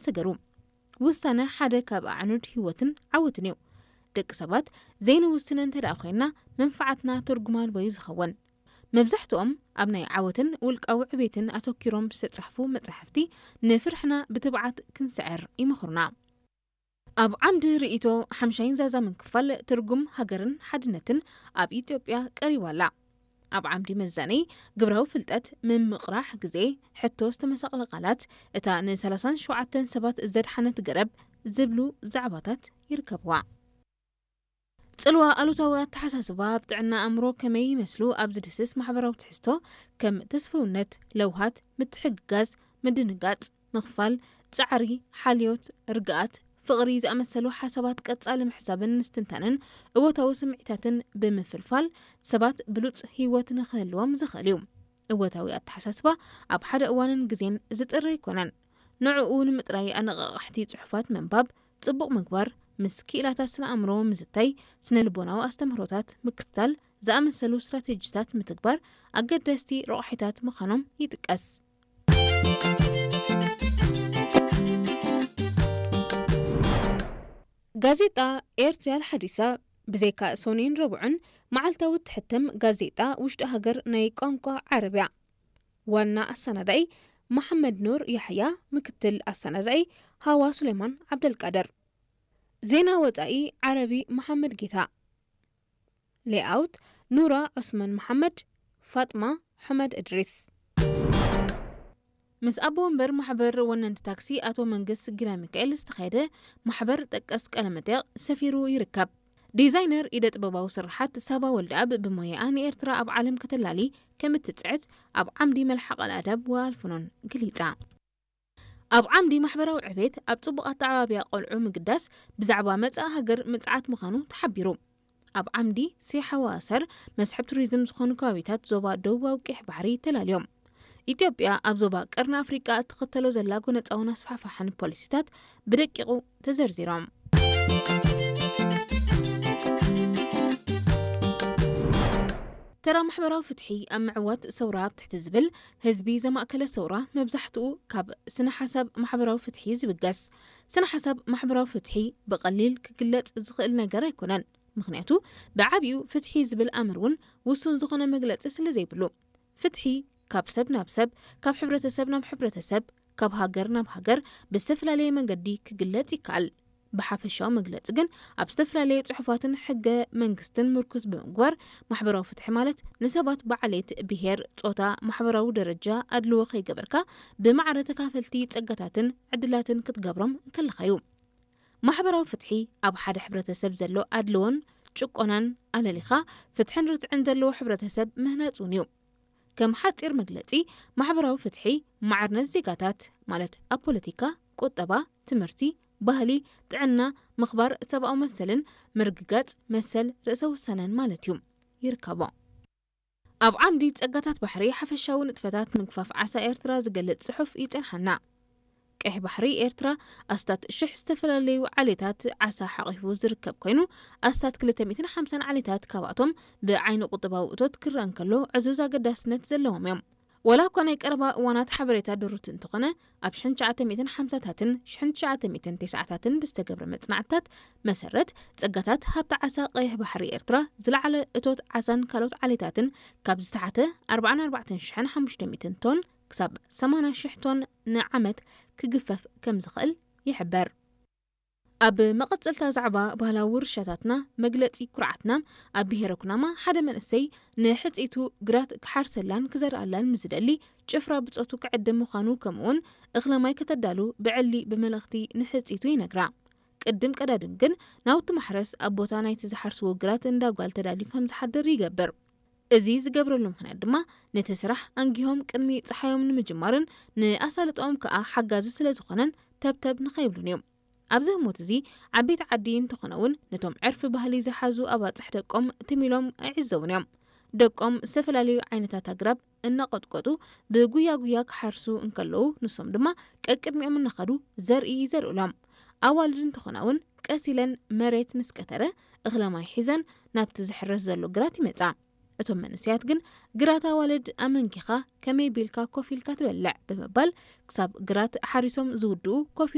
ሰገሩ። ውሳነ ሓደ ካብ ኣዕኑድ ህይወትን ዓወትን እዩ። ደቂ ሰባት ዘይንውስን እንተ ደኣ ኮይንና፣ መንፋዓትና ትርጉም ኣልቦ እዩ ዝኸውን። መብዛሕትኦም ኣብ ናይ ዓወትን ውልቃዊ ዕቤትን ኣተኪሮም ዝተጻሕፉ መጻሕፍቲ፣ ንፍርሕና ብትብዓት ክንስዕር ይምኽሩና። ኣብ ዓምዲ ርእይቶ ሓምሻይን ዛዛምን ክፋል፣ ትርጉም ሃገርን ሓድነትን ኣብ ኢትዮጵያ ቀሪባ ኣላ። ኣብ ዓምዲ መዛነይ ግብራዊ ፍልጠት፣ ምምቕራሕ ግዜ፣ ሕቶ ዝተመሳቕለ ቃላት፣ እታ ን37 ሸውዓተን ሰባት ዘድሓነት ገረብ ዝብሉ ዛዕባታት ይርከብዋ። ጽልዋ ኣሉታዊ ኣተሓሳስባ ኣብ ጥዕና ኣእምሮ ከመይ ይመስሉ ኣብ ዝድስስ ማሕበራዊ ትሕዝቶ፣ ከም ተስፍውነት፣ ለውሃት፣ ምትሕግጋዝ፣ ምድንጋጽ፣ ምኽፋል፣ ጻዕሪ፣ ሓልዮት፣ ርግኣት፣ ፍቕሪ ዝኣመሰሉ ሓሳባት ቀጻሊ ምሕሳብን ምስትንታንን እወታዊ ስምዒታትን ብምፍልፋል፣ ሰባት ብሉጽ ህይወት ንኽህልዎም ዘኽእል እዩ። እወታዊ ኣተሓሳስባ ኣብ ሓደ እዋንን ግዜን ዝጥረ ኣይኮነን። ንዕኡ ንምጥራይ ኣነቓቓሕቲ ጽሑፋት ምንባብ፣ ጽቡቕ ምግባር፣ ምስ ክኢላታት ስነ ኣእምሮ ምዝታይ፣ ስነ ልቦናዊ ኣስተምህሮታት ምክትታል ዝኣመሰሉ ስትራቴጂታት ምትግባር ኣገደስቲ ረቑሒታት ምዃኖም ይጥቀስ። ጋዜጣ ኤርትርያ ሓዲሳ፣ ብዘይካ ሰኑይን ረቡዕን፣ መዓልታዊ እትሕተም ጋዜጣ ውሽጢ ሃገር ናይ ቋንቋ ዓረብያ። ዋና ኣሰናዳኢ መሓመድ ኑር ያሕያ፣ ምክትል ኣሰናዳኢ ሃዋ ሱሌማን ዓብደልቃድር። ዜና ወጻኢ ዓረቢ መሓመድ ጌታ። ሌኣውት ኑራ ዑስማን መሓመድ፣ ፋጥማ ሑመድ እድሪስ። ምስ ኣቦ ወንበር ማሕበር ወነንቲ ታክሲ ኣቶ መንግስ ጊላ ሚካኤል ዝተኻየደ ማሕበር ጠቀስ ቃለ መጠይቕ ሰፊሩ ይርከብ። ዲዛይነር ኢደ ጥበባዊ ስርሓት ሳባ ወልደኣብ ብሞያኣ ንኤርትራ ኣብ ዓለም ከተላሊ ከም እትጽዕት ኣብ ዓምዲ መልሓቕ ኣልኣዳብ ወኣልፍኖን ገሊጻ። ኣብ ዓምዲ ማሕበራዊ ዕቤት ኣብ ጽቡቕ ኣተዓባብያ ቆልዑ ምግዳስ ብዛዕባ መጻኢ ሃገር ምጽዓት ምዃኑ ተሓቢሩ። ኣብ ዓምዲ ሲ ሓዋሰር መስሕብ ቱሪዝም ዝኾኑ ከባቢታት ዞባ ደቡባዊ ቀይሕ ባሕሪ ተላልዮም። ኢትዮጵያ ኣብ ዞባ ቀርኒ ኣፍሪቃ እትኽተሎ ዘላ ጎነጻውን ኣስፋሕፋሕን ፖሊሲታት ብደቂቑ ተዘርዚሮም። ተራ ማሕበራዊ ፍትሒ ኣብ ምዕዋት ሰውራ ኣብ ትሕቲ ዝብል ህዝቢ ዘማእከለ ሰውራ መብዛሕትኡ ካብ ስነ ሓሳብ ማሕበራዊ ፍትሒ እዩ ዝብገስ። ስነ ሓሳብ ማሕበራዊ ፍትሒ ብቐሊል ክግለጽ ዝኽእል ነገር ኣይኮነን። ምኽንያቱ ብዓቢኡ ፍትሒ ዝብል ኣምር እውን ውሱን ዝኾነ መግለጺ ስለ ዘይብሉ። ፍትሒ ካብ ሰብ ናብ ሰብ፣ ካብ ሕብረተሰብ ናብ ሕብረተሰብ፣ ካብ ሃገር ናብ ሃገር ብዝተፈላለየ መንገዲ ክግለጽ ይከኣል። ብሓፈሻዊ መግለጺ ግን ኣብ ዝተፈላለየ ጽሑፋትን ሕገ መንግስትን ምርኩዝ ብምግባር ማሕበራዊ ፍትሒ ማለት ንሰባት ብዓሌት፣ ብሄር፣ ጾታ፣ ማሕበራዊ ደረጃ ኣድልዎ ከይገበርካ ብማዕረ ተካፈልቲ ጸጋታትን ዕድላትን ክትገብሮም እንከለኻ እዩ። ማሕበራዊ ፍትሒ ኣብ ሓደ ሕብረተሰብ ዘሎ ኣድልዎን ጭቆናን ኣለሊኻ ፍትሕን ርትዕን ዘለዎ ሕብረተሰብ ምህናጽ እውን እዩ። ከም ሓጺር መግለጺ፣ ማሕበራዊ ፍትሒ ማዕርነት ዜጋታት ማለት ኣብ ፖለቲካ፣ ቁጠባ፣ ትምህርቲ፣ ባህሊ፣ ጥዕና፣ ምኽባር ሰብኣዊ መሰልን ምርግጋጽ መሰል ርእሰ ውሳነን ማለት እዩ። ይርከቦ። ኣብ ዓምዲ ጸጋታት ባሕሪ ሓፈሻዊ ንጥፈታት ምግፋፍ ዓሳ ኤርትራ ዝገልጽ ጽሑፍ ይጸንሓና። ቀይሕ ባሕሪ ኤርትራ ኣስታት ሽሕ ዝተፈላለዩ ዓሌታት ዓሳ ሓቒፉ ዝርከብ ኮይኑ፣ ኣስታት ክልተ ሚእትን ሓምሳን ዓሌታት ካብኣቶም ብዓይኒ ቁጠባዊ እቶት ክረአ እንከሎ ዕዙዝ ኣገዳስነት ዘለዎም እዮም። ዋላ እኳ ናይ ቀረባ እዋናት ሓበሬታ ድሩት እንተኾነ፣ ኣብ ሽሕን ትሽዓተ ሚእትን ሓምሳታትን ሽሕን ትሽዓተ ሚእትን ተስዓታትን ብዝተገብረ መጽናዕትታት መሰረት፣ ጸጋታት ሃብቲ ዓሳ ቀይሕ ባሕሪ ኤርትራ ዝለዓለ እቶት ዓሳን ካልኦት ዓሌታትን ካብ ዝተሓተ ኣርባዓን ኣርባዕተን ሽሕን ሓሙሽተ ሚእትን ቶን ክሳብ ሰማንያ ሽሕ ቶን ንዓመት ክግፈፍ ከም ዝኽእል ይሕበር። ኣብ መቐጸልታ ዛዕባ ባህላዊ ውርሻታትና መግለጺ ኩርዓትና፣ ኣብ ብሄረ ኩናማ ሓደ መንእሰይ ንሕጽይቱ ግራት ክሓርሰላን ክዘርኣላን ምስ ዝደሊ ጭፍራ ብጾቱ ክዕድም ምዃኑ፣ ከምኡውን እኽለ ማይ ከተዳሉ ብዕሊ ብመልእኽቲ ንሕጽይቱ ይነግራ። ቅድም ቀዳድም ግን ናውቲ ማሕረስ ኣብ ቦታ ናይቲ ዝሓርስዎ ግራት እንዳ ጓል ተዳልዩ ከም ዝሓድር ይገብር። እዚ ዝገብረሉ ምኽንያት ድማ ነቲ ስራሕ ኣንጊሆም ቅድሚ ጸሓዮም ንምጅማርን ንኣሳልጦኦም ከኣ ሓጋዚ ስለ ዝኾነን ተብተብ ንኸይብሉን እዩ። ኣብዚ ህሞት እዚ ዓበይቲ ዓዲ እንተኾነ እውን ነቶም ዕርፊ ባህሊ ዝሓዙ ኣባጽሕ ደቆም ትም ኢሎም ኣይዕዘቡን እዮም። ደቆም ዝተፈላለዩ ዓይነታት ኣግራብ እናቐጥቀጡ ብጉያ ጉያ ክሓርሱ እንከለዉ ንሶም ድማ ቀቅድሚኦም እናኸዱ ዘርኢ ይዘርእሎም። ኣዋልድ እንተኾና እውን ቀስ ኢለን መሬት ምስ ቀተረ እኽለ ማይ ሒዘን ናብቲ ዝሕረስ ዘሎ ግራት ይመጻ። እቶም መንእሰያት ግን ግራት ኣዋልድ ኣመንኪኻ ከመይ ቢልካ ኮፍ ኢልካ ትበልዕ ብምባል ክሳብ ግራት ሓሪሶም ዝውድኡ ኮፍ